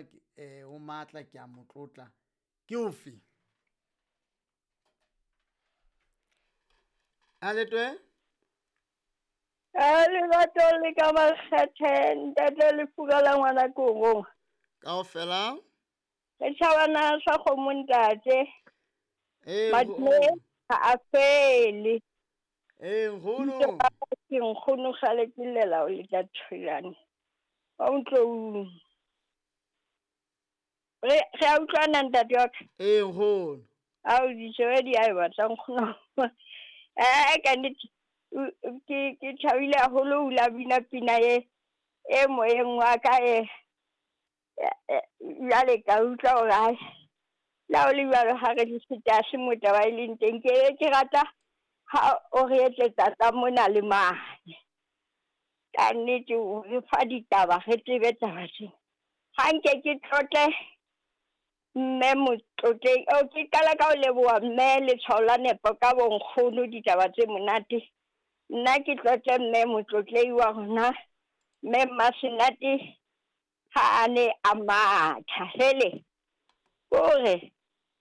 enwa ke o matla ke a motlotla ke ofe? A letwe? A lerato le ka makgethe ntate Lefura la ngwana korong. Kaofela? Re tjhabana sa kgomo ntate. Eh, Madume ha a fele. Eh, nkgono. Ke nkgono kgale ke llela o le ka thulane. Wa utlwa. Re a utlwana ntate wa ka. Eh, nkgono. Ao ditjebe di a e batla nkgono. Ka nnete ke thabile haholo o la bina pina e moyeng wa ka e jwale ka utlwa hore hai la o le jwalo ha re di se motaba e leng teng ke rata ha o re etletsa tsa mona le mane. Ka nnete o re fa ditaba re tsebe taba tsena. Ha nke ke tlotle mme motlotleng o ke qala ka ho leboha mme letshwao la nepo ka bonkgono ditaba tse monate. Nna ke tlotle mme motlotlei wa rona mme Masenate ha a ne a matha hele kore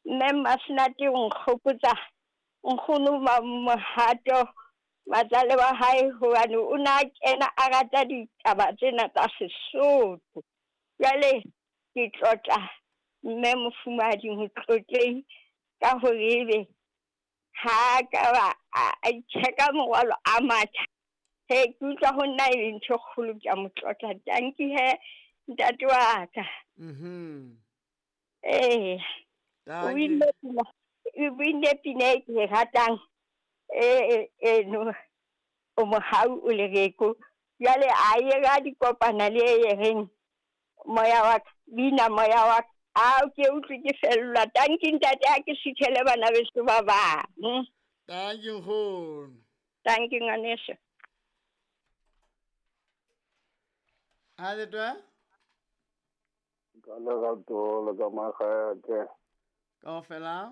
mme Masenate o nkgopotsa nkgono Mohato matsale wa hae hobane o na kena a rata ditaba tsena tsa Sesotho. Jwale ke tlotla mme mofumahadi motlotlei ka hore ebe ha ka ba a itjheka morwalo a matha. He ke utlwa ho nna e le ntho e kgolo ke a mo tlotla. Tanki he ntate wa ka. Eh. O binne pina e ke e ratang eno o mohau o lereko. Jwale a ye ra dikopana le e reng moya wa ka, bina moya wa ka. A ke utlwe ke fellwa. Tanki ntate ha ke sithele bana beso ba bang. Tanki nkgono. Tanki ngwaneso. A letwa? Ka lerato le ka makgethe. Kaofela?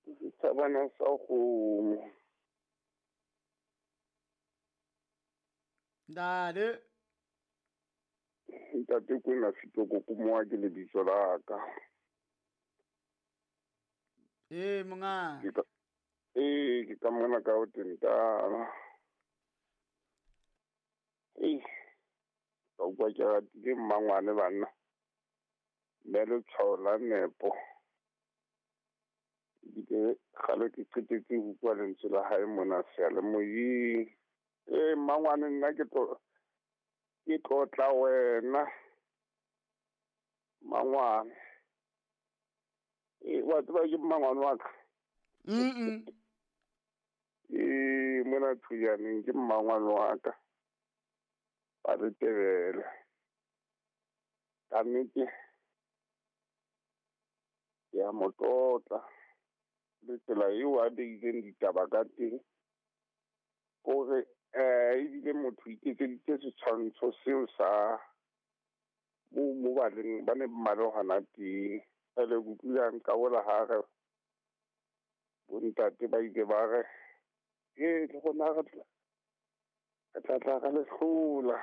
Setjhabana sa kgomo. Ntate. Ntate Kwena Setoko Kumoa ke lebitso la ka. Eh, monga. Ke ka mona ka o tentana. Eh, ka utlwa ke ratile mmangwane banna. Mme letshwao la nepo. Ebile kgale ke qetetse ho utlwa lentswe la hae mona seyalemoyeng. Eh, mmangwane nna ke tlotla wena. Mmangwane. Eh, wa tseba ke mmangwane wa ka? Eh, mona Thujaneng ke mmangwane wa ka. Ba re tebele. Ka nnete ke a mo tlotla. Le tsela eo a beileng ditaba ka teng. Kore ebile motho iketseditse setshwantsho seo sa mo ba leng ba ne ba le hona teng. Jwale ke utlwile a nqabola ha re bontate ba ile ba re e le rona re tla tla re le hlola.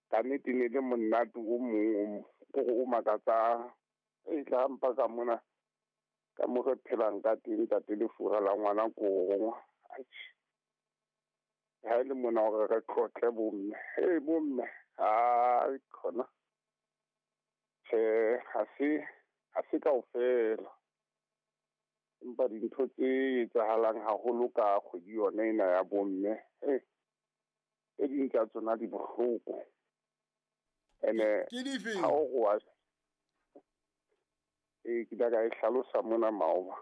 Ka nnete ne le monate o mong o makatsang. E tla mpa ka mona ka mo re phelang ka teng ntate Lefura la ngwana korong. Atjhe. Ha e le mona hore re tlotle bomme. Hey bomme, ai khona. Tjhe, ha se kaofela. Empa dintho tse etsahalang haholo ka kgwedi yona ena ya bomme, tse ding tsa tsona di bohloko. Ene ke dife? Ha o wa ke tla ka e hlalosa mona maoba.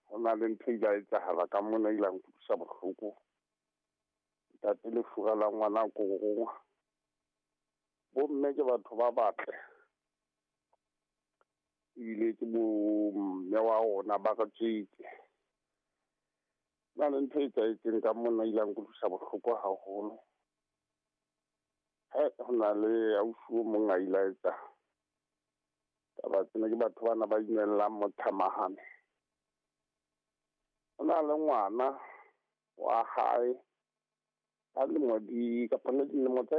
Ho na le ntho e ile ya etsahala ka mona e ile ya nkutlwisa bohloko. Ntate Lefura la ngwana korong. Bomme ke batho ba batle. Ebile ke bo mme wa rona ba re tswetse. Na le ntho e etsahetseng ka mona e ile ya nkutlwisa bohloko haholo. Ho na le ausi o mong a ile a etsa taba tsena ke batho bana ba inellang mothamahane. Ho na le ngwana wa hae a lemo di kapa le dilemo tsa